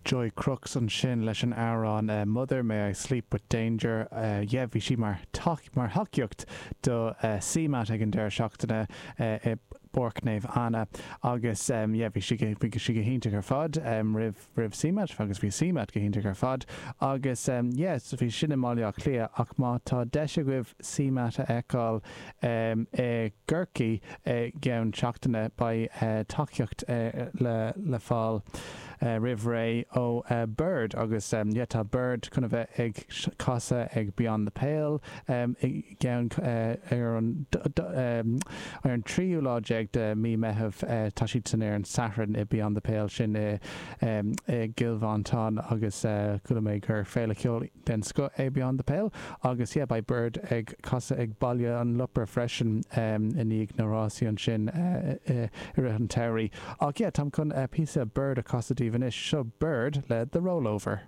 Joy Crooks ansin leis an amhrán Mother May I Sleep With Danger. Yeah, bhí sí mar mar thacaíocht do CMAT ag an deireadh seachtaine i bPáirc Naomh Anna agus yeah, bhí sí bhí sí go hiontach ar fad roimh roimh CMAT agus bhí CMAT go hiontach ar fad agus yeah, so bhí sin i mBaile Átha Cliath ach má tá deis agaibh CMAT a fheiceáil i gCorcaigh i gceann seachtaine beidh tacaíocht le fáil roimh ré ó Bird agus yeah tá Bird chun a bheith ag casadh ag Beyond the Pale i gceann ar an ar an tríú lá déag de mí Meitheamh tá siad san ar an Satharn i Beyond the Pale sin i i gCill Mhantáin agus chuala mé gur féile ceoil den scoth é Beyond the Pale agus yeah beidh Bird ag casadh ag Baile an Lopair freisin i ndiaidh na rásaí ansin i rith an tsamhraidh. Ach yeah táim chun píosa Bird a chasadh daoibh anois. Seo Bird le The Rollover.